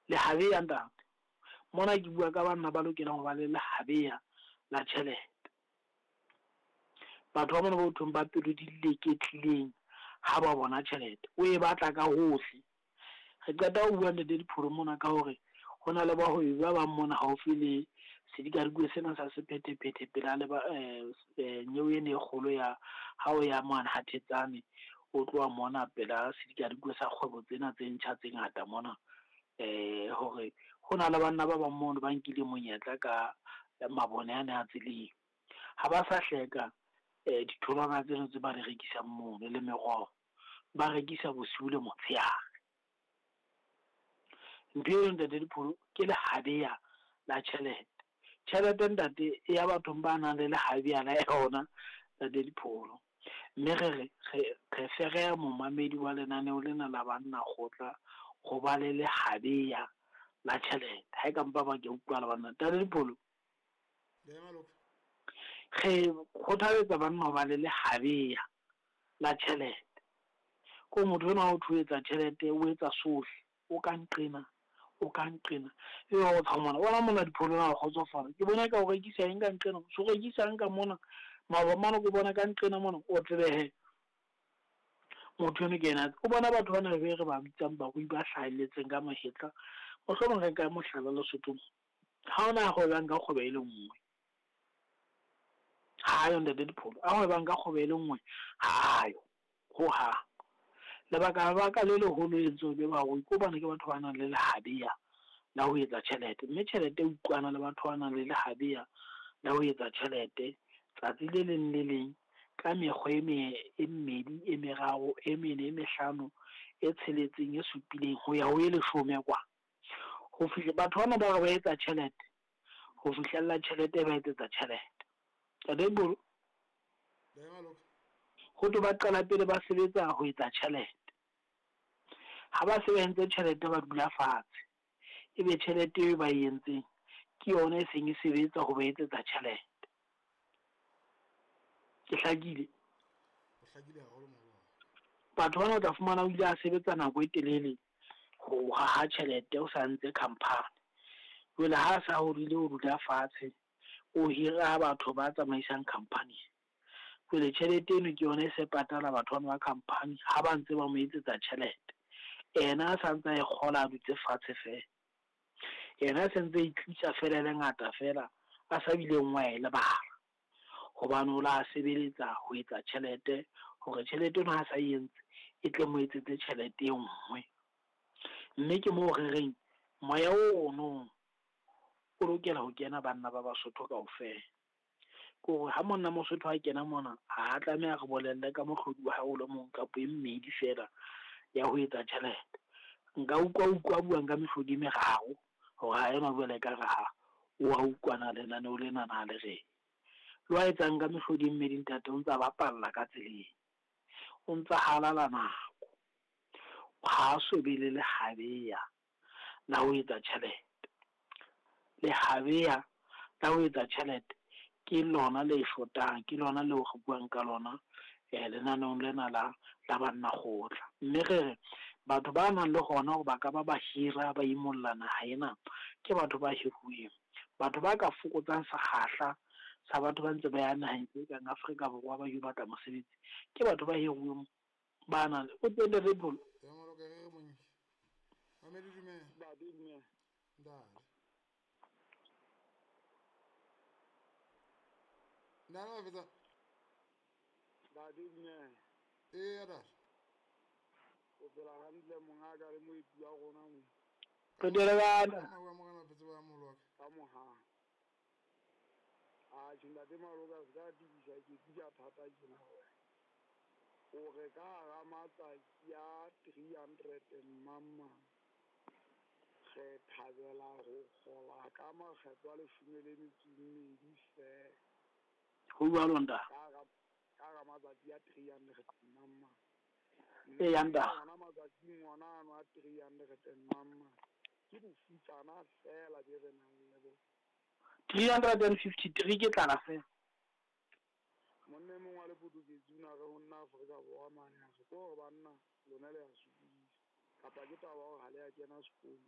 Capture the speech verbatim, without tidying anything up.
Lehabeya ntate. Mona ke bua ka banna ba lokelang ho ba le lehabeya la tjhelete. Batho ba mona ba hothweng ba pelo di leketlileng ha ba bona tjhelete, o e batla ka hohle. Re qeta ho bua Ntate Dipholo mona ka hore ho na le bahwebi ba bang mona haufi le sedikadikwe sena sa sephethephethe pela le ba nyewe ena e kgolo ya ha o ya mane ha Thetsane, o tloha mona pela sedikadikwe sa kgwebo tsena tse ntjha tse ngata mona. Hore ho na le banna ba bang mono ba nkile monyetla ka mabone ane a tseleng. Ha ba sa hleka ditholwana tseno tse ba di rekisang mono le meroho, ba rekisa bosiu le motshehare. Ntho eo Ntate Dipholo ke lehabeya la tjhelete. Tjhelete ntate e ya bathong ba nang le lehabeya la yona Ntate Dipholo. Mme re re re re fereha momamedi wa lenaneo lena la banna kgotla ho ba le lehabeya la tjhelete. Ha e ka mpa ba ke utlwahala banna. Ntate Dipholo, re kgothaletsa banna ho ba le lehabeya la tjhelete. Ko motho enwa o thwe o etsa tjhelete, o etsa sohle. O ka nqena, o ka nqena. Ebe wa o mona, bona mona Dipholo na o kgotsofala. Ke bona eka o rekisa eng ka nqena, so rekisang ka mona. Maoba mane ke bona ka nqena mona, o tsebe hee motho eno ke ena. O bona batho bana be re ba bitsang barui ba hlahelletseng ka mahetla. Mohlomong re nka mohlala Lesotho. Ha hona ya hwebang ka kgwebo e le nngwe. Ha ayo Ntate Dipholo. A hwebang ka kgwebo e le nngwe, ha ayo hohang. Lebaka baka le leholo e entse be barui ke hobane ke batho ba nang le lehabeya la ho etsa tjhelete. Mme tjhelete e utlwana le batho ba nang le lehabeya la ho etsa tjhelete tsatsi le leng le leng ka mekgwa e me e mmedi, e meraro, e mene, e mehlano, e tsheletseng, e supileng ho ya ho e leshome kwa. Ho fihla batho bana ba re ba etsa tjhelete, ho fihlella tjhelete ba etsetsa tjhelete. Ntate Dipholo, ho thwe ba qala pele ba sebetsa ho etsa tjhelete. Ha ba se ba entse tjhelete ba dula fatshe. Ebe tjhelete eo ba e entseng ke yona e seng e sebetsa ho ba etsetsa tjhelete. Ke hlakile? O hlakile haholo moholo. Batho bana o tla fumana o ile a sebetsa nako e telele ho haha tjhelete o sa ntse company. Jwale ha sa hodile o dula fatshe, o hira batho ba tsamaisang company. Jwale tjhelete eno ke yona e se patala batho bana ba company ha ba ntse ba mo etsetsa tjhelete. Yena a sa ntse a e kgola a dutse fatshe feela. Yena a sentse e tlisa fela e le ngata fela a sa bileng wa e lebala. Hobane o la sebeletsa ho etsa tjhelete hore tjhelete eno ha sa e entse e tle mo etsetse tjhelete e nngwe. Mme ke moo re reng moya ono o lokela ho kena banna ba Basotho kaofela. Ke hore ha monna Mosotho a kena mona, ha a tlameha re bolelle ka mohlodi wa hae o le mong kapa e mmedi fela ya ho etsa tjhelete. Nka utlwa utlwa buang ka mehlodi e meraro hore ha ena jwale ekare ha o a utlwana lenaneo lena na le reng. Le wa etsang ka mehlodi e mmedi ntate o ntsa bapalla ka tseleng. O ntsa halala nako. Ha a so be le lehabeya la ho etsa tjhelete. Lehabeya la ho etsa tjhelete ke lona le shotang, ke lona leo re buang ka lona lenaneong lena la la banna kgotla. Mme re re batho ba nang le hona hore ba ka ba ba hira ba imolla naha ena ke batho ba hiruweng. Batho ba ka fokotsang sekgahla sa batho ba ntse ba ya naheng tse kang Afrika Borwa ba yo batla mosebetsi ke batho ba hiruweng ba nang le o teng Ntate Dipholo. Ya maloka re re mongi. Mamedi dumela. Ntate dumela. Ntate. Ntate wa fetsa. Ntate dumela. Eya ntate. O phela hantle mongaka le moeti wa rona mo. Re tele bana. Ka morena fetsa ba moholo wa ka. Ka moha. A tjhe Ntate Maloka se ka tibisa ke tija thata tjena hore o re ka hara matsatsi a three hundred and mama re thabela ho kgola ka makgetlo a leshome le metso e mmedi feela. Ho jwalo ntate. Ka hara ka hara matsatsi a three hundred and mama. Eya ntate. Hona matsatsing ona ano a three hundred and mama ke bofutsana feela be re nang le bona. three hundred and fifty-three ke tlala feela. Monna e mong wa Lepotoketsi o na re ho nna Afrika Borwa mane a re ke hore banna lona le a sokodisa kapa ke taba hore ha le a kena sekolo.